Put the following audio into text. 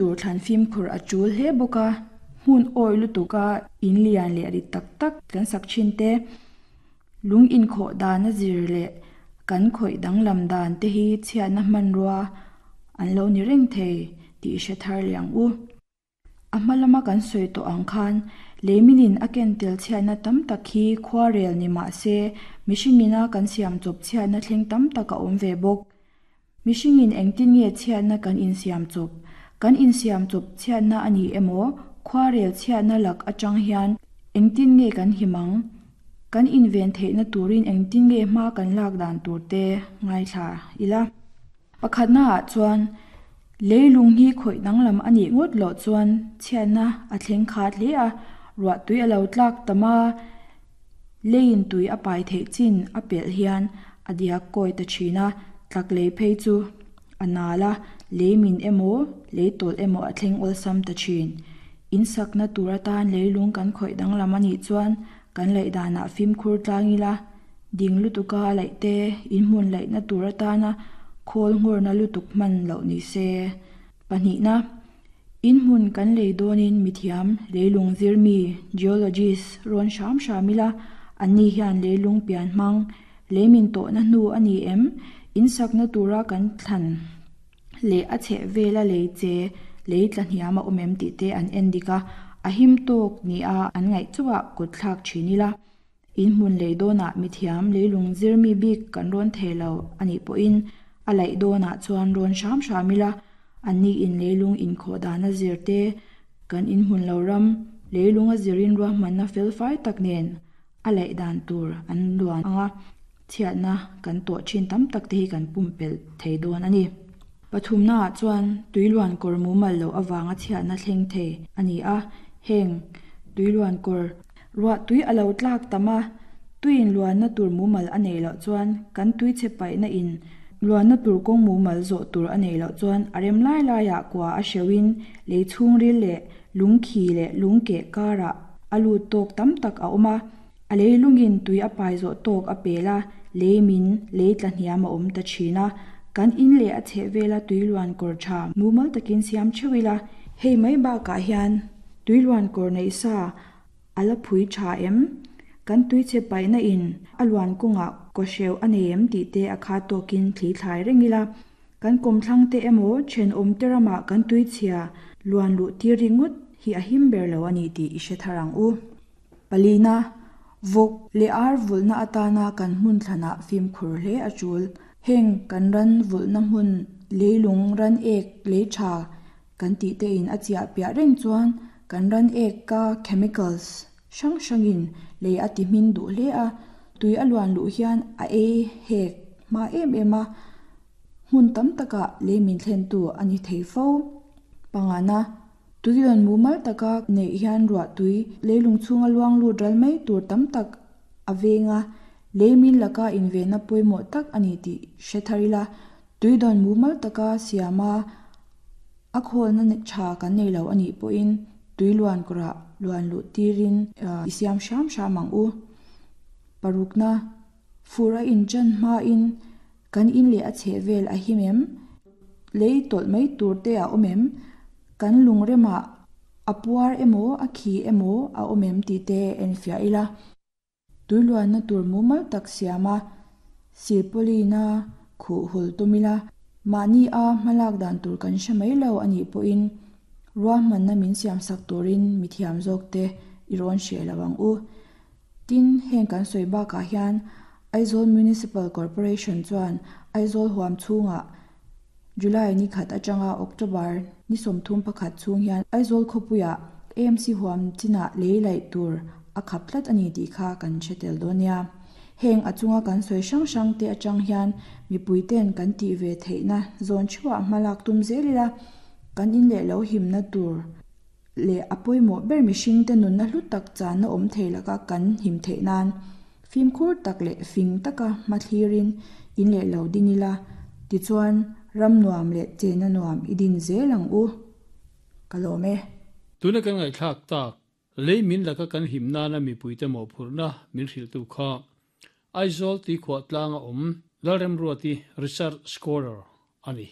Tur thlan fimkhur a tul hle bawk a, hmun awi lutuka in lian leh rit tak tak kan sak thin te, lung inkhawh dan a zir leh kan khawih danglam dan te hi chhiatna hmanrua an lo ni reng thei tih hre thar leh ang u. A hma lama kan sawi tawh ang khan leiminin a ken tel chhiatna tam tak hi khuarel ni mah se mihringina kan siam chawp chhiatna thleng tam tak a awm ve bawk. Mihringin engtin nge chhiatna kan insiam chawp? Kan insiam chawp chhiatna a ni emaw, khuarel chhiatna lak atang hian engtin nge kan him ang? Kan inven theihna turin engtin nge hma kan lak dan tur te ngaithla ila. Pakhatnaah chuan, leilung hi khawih danglam a nih ngawt loh chuan chhiatna a thleng khat hle a, ruahtui a lo tlak tam a, Leiin tui a pai theih chin a pelh hian a diak kawi ta thin a, tlak lei phei chu a nal a, lei min emaw, lei tawlh emaw a thleng awlsam ta thin. In sakna tur atan leilung kan khawih danglam a nih chuan kan laih danah fimkhur tlang ila, ding lutuka a laih te, in hmun laihna tur atana khawl nghawrna lutuk hman loh ni se. Pahnihna. In hmun kan lei dawnin mithiam leilung zirmi, geologist, rawn hram hram ila, anni hian leilung pian hmang, lei min tawhna hnu a ni em? In sakna tura kan thlan leh a chheh vela lei che, lei tla hniam a awm em tih te an en dik a, a him tawk nia an ngaih chauhah kut thlak thin ila. In hmun lei dawnah mithiam leilung zirmi bik kan rawn thei lo a nih pawhin a laih dawnah chuan rawn hram hram ila, anni in leilung inkhawh dan a zir te, kan in hmun lo ram leilung a zirin ruahmanna felfai tak nen a laih dan tur an luan ang a, chhiatna kan tawh thin tam tak te hi kan pumpelh thei dawn a ni. Pathumnaah chuan tuiluan kawr mumal loh avanga chhiatna thleng thei a ni a, heng tuiluan kawr Ruah tui a lo tlak tam a, tuiin luanna tur mumal a neih loh chuan kan tui chhe paihna in luanna tur kawng mumal zawh tur a neih loh chuan a rem lai laiah kua a hreuhin lei chhungril leh lungkhi leh lungkeh karah a lut tawk tam tak a awm a, a lei lungin tui a pai zawh tawk a pel a, lei min lei tla hniam a awm ta thin a, kan in leh a chheh vela tui luan kawr tha mumal takin siam theuh ila, hei mai bakah hian tui luan kawr neih sa A la phui tha em? Kan tuichhe paihna in a luan kawngah kawhreuh a nei em tih te a khat tawkin thli thlai reng ila. Kan kawmthlang te emaw thenawm te ramah kan tuichhia luan luh tir ringawt hi a him ber lo a ni tih i hre thar ang u. Palina, Vawk leh ar vulhna atana kan hmun thlanah fimkhur hle a tul. Heng kan ran vulhna hmun leilung ran ek lei tha Kan tih te in a chiah piah reng chuan kan ran ek ka chemicals hrang hrang in lei a ti hmin duh hle a, tui a luan luh hian a ei hek hma em em a, hmun tam takah lei min thlen tu a ni thei fo. Pangana, tui rawn mumal taka neih hian ruah tui leilung chhunga luang lut ral mai tur tam tak a veng a, lei min laka invenna pawimawh tak a ni tih hre thar ila, Tui dawn mumal taka siama a khawlna tha kan nei lo a nih pawhin tui luan kawrah luan luh tirin i siam hram hram ang u. Parukna, fur a inchan hmain kan in leh a chheh vel a him em? Lei tawlh mai tur te a awm em? Kan lungremah a puar emaw a khi emaw a awm em tih te enfiah ila. Tuiluanna tur mumal tak siam a, silpawlina khuh hul tum ila, mahni a hmalak dan tur kan hre mai lo a nih pawhin ruahmanna min siamsak turin mithiam zawkte i rawn hreh lo ang u. Tin, heng kan sawi bakah hian Aizawl Municipal Corporation chuan Aizawl huam chhungah July ni khat atanga October ni 31 chhung hian Aizawl khawpuiah AMC huam chinah lei laih tur a khap tlat a ni tih kha kan hre tel dawn nia. Heng a chunga kan sawi hrang hrang te atang hian mipui ten kan tih ve theihna zawn theuhah hma lak tum zel ila, kan in leh lo himna tur leh a pawimawh ber mihringte nunna hlu tak channa awm thei laka kan him theih nan fimkhur tak leh fing taka hma thlirin in leh lo din ila, tichuan ram nuam leh chenna nuam i din zel ang u. Ka lawm e. Tuna kan ngaihthlak tak, lei min laka kan him nana mipuite mawhphurhna min hrilhtu kha Aizawl tuikhuah tlanga awm Lalremruati Research Scholar a ni.